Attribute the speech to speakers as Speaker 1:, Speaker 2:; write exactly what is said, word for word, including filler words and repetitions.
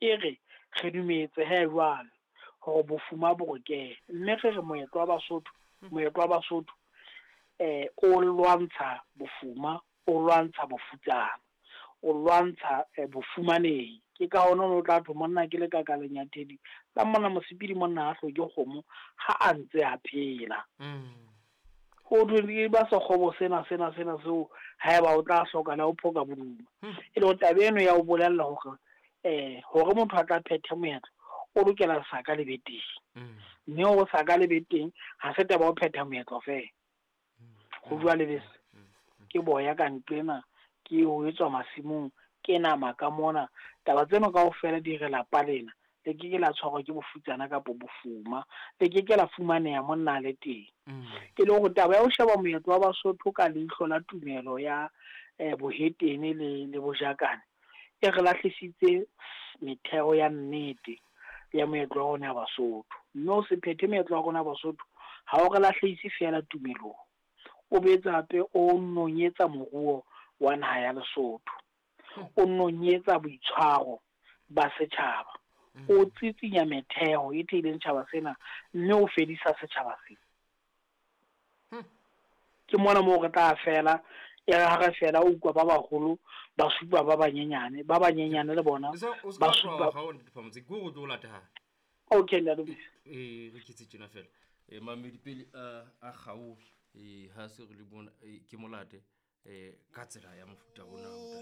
Speaker 1: E re re dumetse he jwale hore bofuma bo re kene, mme re re moetlo wa Basotho, moetlo wa Basotho eh o lwantsha bofuma, o lwantsha bofutsana, o lwantsha eh, bofumanehi. Ke ka hona o tla thwe monna ke lekaka lenyathedi la monna mosepedi, monna ha hloke kgomo ha a ntse a phela. Ho thwe ke ba sekgobo sena sena sena seo haeba o tla hloka le ho phoka boduma. E le hore taba eno ya o bolella hore eh hore motho a tla phethe moetlo o lokela saka le be teng, mme hore saka le be teng ha se taba ya ho phetha moetlo feela. Ho bua lebese ke boya ka nqena, ke ho etswa masimong, ke nama ka mona. Taba tseno kaofela di re lapa lena le ke ke la tshwarwa ke bofutsana kapa bofuma, le ke ke la fumaneha monna a le teng. E le hore taba ya ho sheba moetlo wa Basotho ka leihlo la tumelo ya eh, bohetene le, le bojakane e re lahlisitse metheo ya nnete ya moetlo wa rona ya Basotho. Mme o se phethe moetlo wa rona ya Basotho ha o re lahlehise feela tumelong, o boetse hape o nonyetsa moruo wa naha ya Lesotho, o nonyetsa boitshwaro ba setjhaba, o tsitsinya metheo e theileng setjhaba sena, mme o fedisa setjhaba sena. Ke mona moo re tla fela, e re ha re fela o utlwa ba baholo ba supa ba banyenyane, ba banyenyane le bona
Speaker 2: o se
Speaker 1: ba
Speaker 2: ka
Speaker 1: supa.
Speaker 2: tloha ga o ntate ke go tlo lata ha.
Speaker 1: Okay, ntate.
Speaker 2: Eh, re ketse tjena fela. Eh, mamedi pele a a kgaohe, eh ha se re le bona, eh, ke molate eh ka tsela ya mofuta ona.